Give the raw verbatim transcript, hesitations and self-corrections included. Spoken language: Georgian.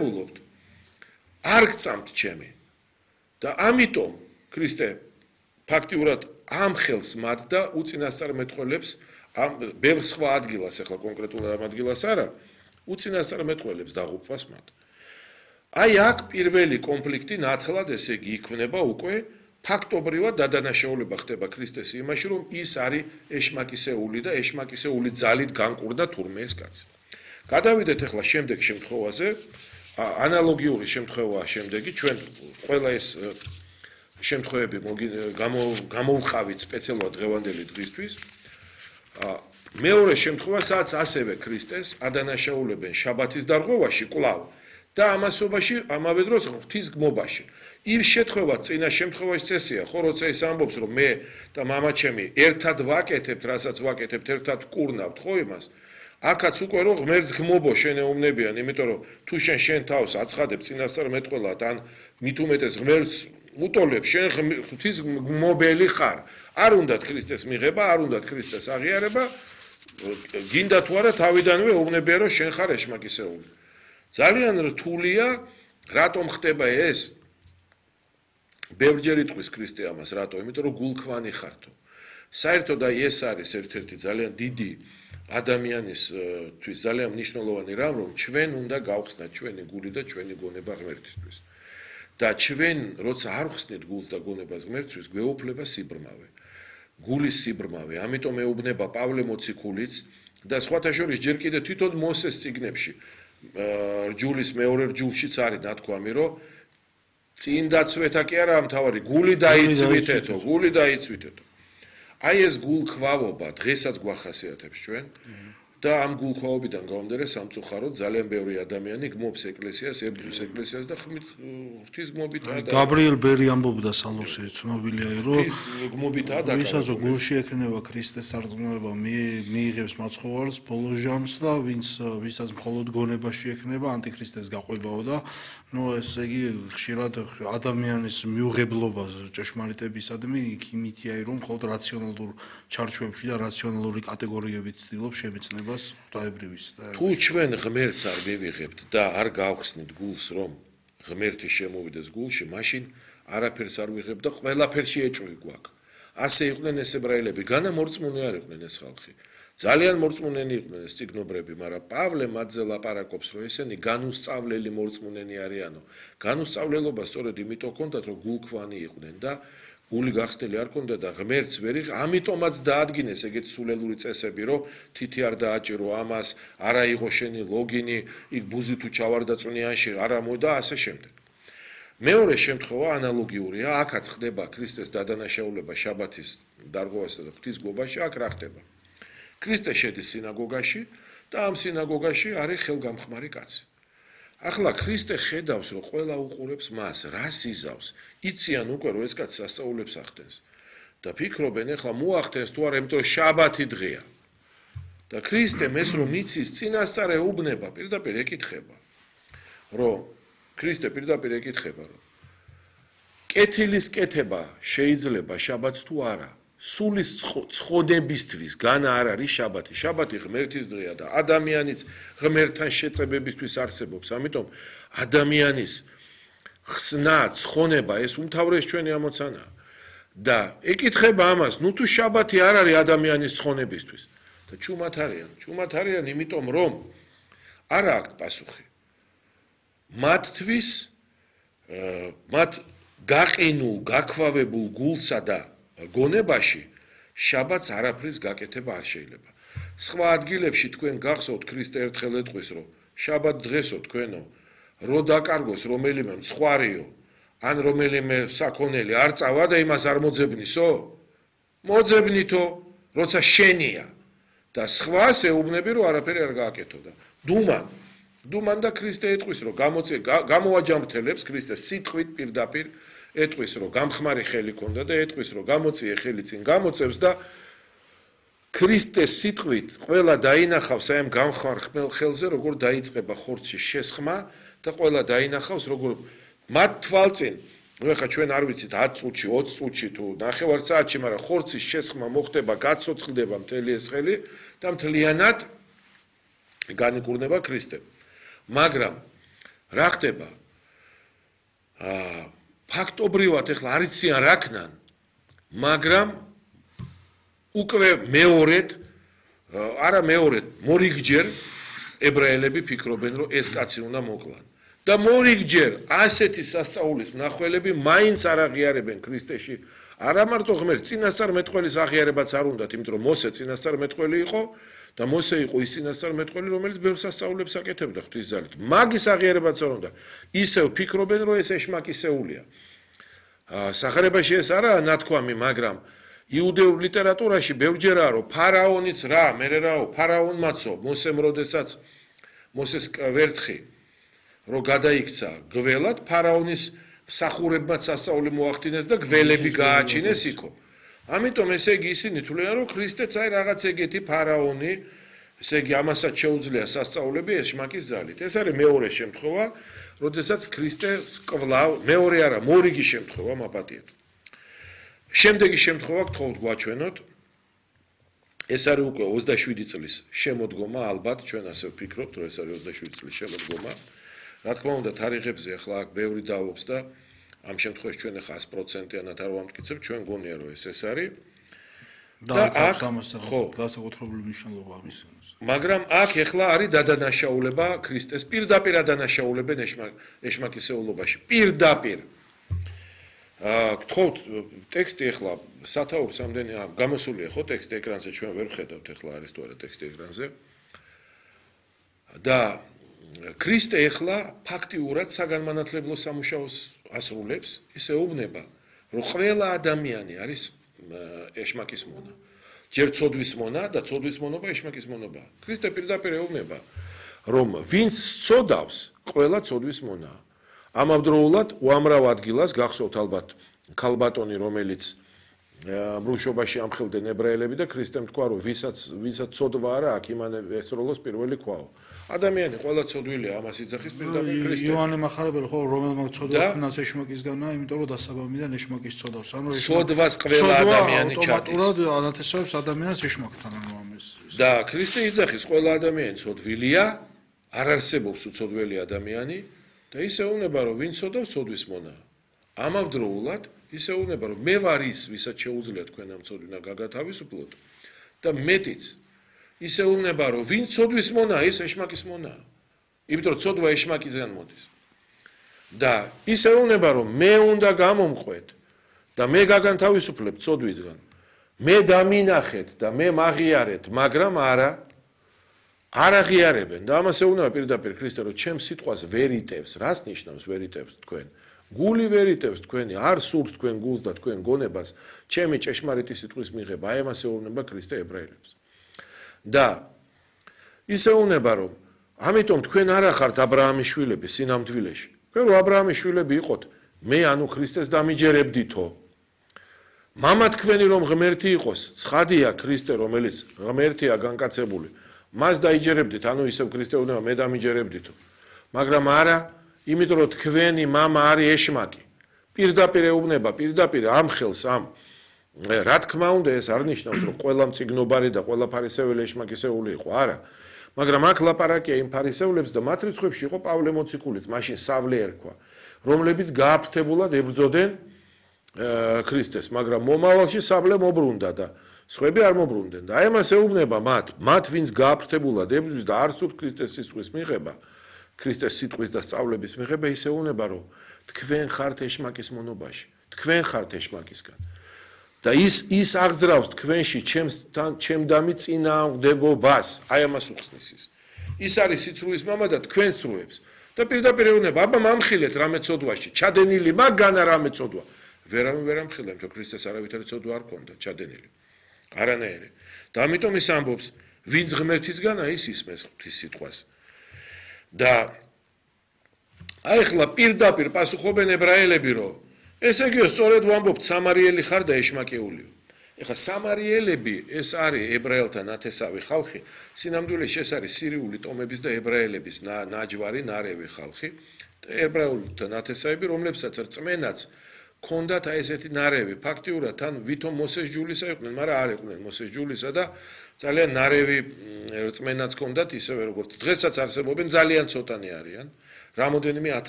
დადებულობთ არ გწამთ ჩემი და ამიტომ ქრისტე ფაქტიურად ამ ხელს მათ და უწინასწარმეტყველებს ამ ბევრ სხვა ადგილას ახლა კონკრეტულად ამ ადგილას არა უწინასწარმეტყველებს დაღუპვას მათ აი აქ პირველი კონფლიქტი ნათლად ესე იგი იქმნება უკვე ფაქტობრივად დადანაშაულება ხდება ქრისტეს იმაში რომ ის არის ეშმაკისეული და ეშმაკისეული ძალით განკურდა თურმე ეს კაცი გადავიდეთ ახლა შემდეგ შემთხვევაზე ანალოგიური შემთხვევაა შემდეგი ჩვენ ყველა ეს შემთხვევები გამოვყავით სპეციალურად დღევანდელი დღისთვის მეორე შემთხვევა სადაც ასევე ქრისტეს ადანაშაულებენ შაბათის დარღვევაში კვლავ და ამასობაში ამავე დროს ღვთის გმობაში იმ შემთხვევაში წინა შემთხვევაში წესია ხო როცა ის ამბობს რომ მე და მამაჩემი ერთად ვაკეთებთ რასაც ვაკეთებთ ერთად ვკურნავთ ხო იმას აქაც უკვე რომ ღმერთს გმობო შენეუბნებიან იმიტომ რომ თუ შენ შენ თავს აცხადებ წინასწარმეტყველად ან მით უმეტეს ღმერთს უტოლებ შენ ღვთის გმობელი ხარ არ უნდათ ქრისტეს მიღება არ უნდათ ქრისტეს აღიარება გინდა თუ არა თავიდანვე უუბნებიან რომ შენ ხარ ეშმაკისეული ძალიან რთულია რატომ ხდება ეს ბევრჯერ იტყვის ქრისტე ამას რატო იმიტომ რომ გულქვანი ხართო საერთოდ აი ეს არის ერთ-ერთი ძალიან დიდი ადამიანისთვის ძალიან მნიშვნელოვანი რამ რომ ჩვენ უნდა გავხსნათ ჩვენი გული და ჩვენი გონება ღმერთისთვის და ჩვენ როცა არ ხსნით გულს და გონებას ღმერთთვის გვეუფლება სიბრმავე გულის სიბრმავე ამიტომ ეუბნება პავლე მოციქულიც და სხვათა შორის ჯერ კიდე თვითონ მოსეს წიგნებში რჯულის მეორე რჯულშიც არის ნათქვამი რომ წინ დაცვეთა კი არა მთავარი გული დაიცვითეთო გული დაიცვითეთო აი ეს გულქვავობა დღესაც გვახასიათებს ჩვენ და ამ გულქვავობიდან გამომდინარე სამწუხაროდ ძალიან ბევრი ადამიანი გმობს ეკლესიას, ებრძვის ეკლესიას და ღვთის გმობითაა და გაბრიელ ბერი ამბობდა სალოსი ცნობილია რომ ღვთის გმობითაა და ვისაც გულში ექნება ქრისტეს სარწმუნოება მიიღებს მაცხოვარს ბოლო ჟამს და ვინც ვისაც მხოლოდ გონებაში ექნება ანტიქრისტეს გაყვებაო და ну ესე იგი ხშირად ადამიანის მიუღებლობა ჭეშმარიტებისადმი იქ იმითია რომ მხოლოდ რაციონალურ ჩარჩოებში და რაციონალური კატეგორიებით ცდილობს შემეცნებას დაებრივის და თუ ჩვენ ღმერთს არ მივიღებთ და არ გავხსნით გულს რომ ღმერთი შემოვიდეს გულში მაშინ არაფერს არ ვიღებ და ყველაფერში ეჭვი გვაქვს ასე იყვნენ ეს ებრაელები განა მორწმუნე არ იყვნენ ეს ხალხი ძალიან მორწმუნენი იყვნენ ეს ციგნობრები, მაგრამ პავლე მათზე ლაპარაკობს, რომ ესენი განუსწავლელი მორწმუნენი არიანო. განუსწავლელობა სწორედ იმიტომ ჰქონდათ, რომ გულქვანი იყვნენ და გული გახსნილი არ ჰქონდა და ღმერთს ვერ იღ, ამიტომაც დაადგინეს ეგეთ სულელური წესები, რომ თითი არ დააჭირო ამას, არ აიღო შენი ლოგინი, იქ ბუზი თუ ჩავარდა წვნიანში, არ ამოდა ასე შემდეგ. მეორე შემთხვევა ანალოგიურია, აქაც ხდება ქრისტეს დადანაშაულება შაბათის დარღვევასა და ღვთის გმობაში, აქ რა ხდება? ქრისტე შედის სინაგოგაში და ამ სინაგოგაში არის ხელგამხმარი კაცი. ახლა ქრისტე ხედავს, რომ ყველა უყურებს მას, რას იზავს, იციან უკვე რომ ეს კაცი სასწაულებს ახდენს და ფიქრობენ, ახლა მოახდენს თუ არა, იმიტომ შაბათი დღეა. და ქრისტემ ეს რომ იცის, წინასწარ ეუბნება, პირდაპირ ეკითხება, რომ ქრისტე პირდაპირ ეკითხება, რომ კეთილის კეთება შეიძლება შაბათს თუ არა? სულის ცხონებისთვის განა არ არის შაბათი. შაბათი ღმერთის დღეა და ადამიანის ღმერთთან შეწებებისთვის არსებობს. ამიტომ ადამიანის ხსნა, ცხონება ეს უმთავრეს ჩვენი ამოცანაა. და ეკითხება ამას, ნუ თუ შაბათი არ არის ადამიანის ცხონებისთვის. და ჩუმად არიან, ჩუმად არიან, იმიტომ რომ არ აქვს პასუხი. მათთვის მათ გაყინულ, გაქვავებულ გულსა და გონებაში შაბათს არაფრის გაკეთება არ შეიძლება. სხვა ადგილებში თქვენ გახსოვთ ქრისტე ერთხელ ეტყვის, რომ შაბათ დღესო თქვენო, რო დაკარგოს რომელიმე მცხვარიო, ან რომელიმე საქონელი არ წავა და იმას არ მოძებნისო? მოძებნითო, როცა შენია. და სხვას ეუბნები, რომ არაფერი არ გააკეთო და დუმან. დუმან და ქრისტე ეტყვის, რომ გამოწე გამოაჯამრთელებს ქრისტეს სიტყვით პირდაპირ ეტყვის, რომ გამხმარი ხელი ქონდა და ეტყვის, რომ გამოწიე ხელი წინ გამოწევს და ქრისტეს სიტყვით ყველა დაინახავს აი ამ გამხმარ ხელზე, როგორ დაიწყება ხორცის შესხმა და ყველა დაინახავს, როგორ მათ თვალწინ, ნუ ახლა ჩვენ არ ვიცით ათ წუთში, ოცი წუთში თუ ნახევარ საათში, მაგრამ ხორცის შესხმა მოხდება, გაცოცხლდება მთელი ეს ხელი და მთლიანად განიკურნება ქრისტე. მაგრამ რა ხდება? აა ფაქტობრივად ეხლა არ იციან რა ქნან, მაგრამ უკვე მეორედ არა მეორედ, მორიგჯერ ებრაელები ფიქრობენ, რომ ეს კაცი უნდა მოკლან. და მორიგჯერ ასეთი სასწაულის მნახველები მაინც არ აღიარებენ ქრისტეში. არა მარტო ღმერთს, წინასწარმეტყველის აღიარებაც არ უნდათ, იმიტომ რომ მოსე წინასწარმეტყველი იყო და მოსე იყო ის წინასწარმეტყველი, რომელიც ბევრ სასწაულებს აკეთებდა ღვთისძალით. მაგის აღიარებაც არ უნდა. ისევ ფიქრობენ, რომ ეს ეშმაკისეულია. სახარებაში ეს არაა ნათქვამი, მაგრამ იუდეურ ლიტერატურაში ბევრჯერაა, რომ ფარაონიც რა, მერე რაო, ფარაონმაცო, მოსემ როდესაც მოსეს ვერთხი რომ გადაიქცა გველად, ფარაონის მსახურებმაც სასწაული მოახდინეს და გველები გააჩინეს იქო. ამიტომ ესე იგი ისინი თვლიან, რომ ქრისტეც აი რაღაც ეგეთი ფარაონი, ესე იგი ამასაც შეუძლია სასწაულები ეშმაკის ძალით. ეს არის მეორე შემთხვევა, როდესაც ქრისტე კვლავ მეორე არა, მორიგი შემთხვევა მაპატიეთ. შემდეგი შემთხვევა გთხოვთ გვაჩვენოთ. ეს არის უკვე ოცდაშვიდი წლის შემოდგომა, ალბათ ჩვენ ასე ვფიქრობთ, რომ ეს არის ოცდაშვიდი წლის შემოდგომა. რა თქმა უნდა, თარიღებზე ახლა აქ ბევრი დააობს და ამ შემთხვევაში ჩვენ ახლა sto პროცენტიანად არ ვამტკიცებთ, ჩვენ გონია რომ ეს ეს არის. და აქ ხო, განსაკუთრებული მნიშვნელობა ამის. მაგრამ აქ ახლა არის დადანაშაულება ქრისტეს, პირდაპირ დადანაშაულებენ ეშმაკისეულობაში. პირდაპირ. აა გთხოვთ ტექსტი ახლა სათაურს ამდენი გამოსულია ხო ტექსტი ეკრანზე, ჩვენ ვერ ვხედავთ ახლა არის თუ არა ტექსტი ეკრანზე. და ქრისტე ახლა ფაქტიურად საგანმანათლებლო სამუშაოს ასრულებს, ისე უბნება, რომ ყველა ადამიანი არის ეშმაკის მონა. ჯერ ცოდვის მონა და ცოდვის მონობა ეშმაკის მონობა. ქრისტე პირდაპირ ეუბნება, რომ ვინც ცოდავს, ყველა ცოდვის მონაა. ამავდროულად უამრავ ადგილას გახსოვთ ალბათ ქალბატონი, რომელიც მრუშობაში ამხელდნენ ებრაელები და ქრისტემ თქვა, რომ ვისაც ვისაც ცოდვა არა აქვს, იმანე ესროლოს პირველი ქვაო. ადამიანი ყველა ცოდვილია, ამას იძახის პირდაპირ ქრისტე. იოანე მახარებელი ხო რომელმა ცოდვა ქნას ეშმაკისგანა, იმიტომ რომ დასაბამიდან ეშმაკის ცოდავს. ანუ ცოდვას ყველა ადამიანი ჩადის. ავტომატურად ანათესავებს ადამიანს ეშმაკთან ანუ ამის. და ქრისტე იძახის ყველა ადამიანი ცოდვილია, არ არსებობს უცოდველი ადამიანი და ისე უნება რომ ვინ ცოდავს ცოდვის მონა. ამავდროულად ისე უნება რომ მე ვარ ის, ვისაც შეუძლია თქვენ ამ ცოდვინა გაგათავისუფლოთ და მეტიც ისე უნება რომ ვინ ცოდვის მონა ის ეშმაკის მონა. იმიტომ რომ ცოდვა ეშმაკისგან მოდის. და ისე უნება რომ მე უნდა გამომყვეთ და მე გაგანთავისუფლებ ცოდვისგან. მე დამინახეთ და მე მაღიარეთ, მაგრამ არა არ აღიარებენ და ამას ეუბნება პირდაპირ ქრისტე რომ ჩემ სიტყვას ვერ იტევს, რას ნიშნავს ვერ იტევს თქვენ? გული ვერ იტევს თქვენი, არ სურს თქვენ გულს და თქვენ გონებას, ჩემი ჭეშმარიტი სიტყვის მიღება, აი ამას ეუბნება ქრისტე ებრაელებს. და ისე ეუბნება რომ ამიტომ თქვენ არ ახართ აბრაამის შვილები სინამდვილეში. თქვენ რო აბრაამის შვილები იყოთ, მე ანუ ქრისტეს დამიჯერებდითო. მამა თქვენი რომ ღმერთი იყოს, ცხადია ქრისტე რომელიც ღმერთია განკაცებული. მას დაიჯერებდით, ანუ ისევ ქრისტე უნდა მე დამიჯერებდითო. მაგრამ არა, იმიტომ რომ თქვენი მამა არის ეშმაკი. პირდაპირ ეუბნება, პირდაპირ ამ ხელს ამ რა თქმა უნდა ეს არ ნიშნავს რომ ყველა მწიგნობარი და ყველა ფარისეველი ეშმაკისეული იყო, არა. მაგრამ აქ ლაპარაკია იმ ფარისევლებს და მათ რიცხვებში იყო პავლე მოციქულიც, მაშინ სავლე ერქვა, რომლებიც გააფრთებულად ებრძოდნენ ქრისტეს, მაგრამ მომავალში სავლე მობრუნდა და სხვები არ მობრუნდნენ და აი ამას ეუბნება მათ, მათ ვინც გააფრთებულად ებრძვის და არ სურთ ქრისტეს სიტყვის მიღება, ქრისტეს სიტყვის და სწავლების მიღება, ისე ეუბნება რომ თქვენ ხართ ეშმაკის მონობაში, თქვენ ხართ ეშმაკისგან. და ის ის აღძრავს თქვენში ჩემთან ჩემდამი წინააღმდეგობას, აი ამას უხსნის ის. ის არის სიცრუის მამა და თქვენ სრუებს. და პირდაპირ ეუბნება, აბა მამხილეთ რამე ცოდვაში, ჩადენილი მაგანა რამე ცოდვა. ვერავინ ვერ ამხილა, იმიტომ ქრისტეს არავითარი ცოდვა არ ქონდა, ჩადენილი. არანაირი. და ამიტომ ის ამბობს, ვინც ღმერთისგანა ის ისმეს ღვთის სიტყვას. და აი ახლა პირდაპირ პასუხობენ ებრაელები, რომ ესე იგი სწორედ ვამბობთ, სამარიელი ხარ და ეშმაკეულიო. ეხლა სამარიელები ეს არის ებრაელთა ნათესავი ხალხი, სინამდვილეში ეს არის სირიული ტომების და ებრაელების ნაჯვარი, ნარევი ხალხი, ებრაელთა ნათესავები, რომლებსაც რწმენაც ქონდათ აი ესეთი ნარევი, ფაქტიურად თან ვითომ მოსეს ჯულისა იყვნენ, მაგრამ არ იყვნენ მოსეს ჯულისა და ძალიან ნარევი რწმენაც ქონდათ, ისევე როგორც დღესაც არსებობენ, ძალიან ცოტანი არიან. რამოდენიმე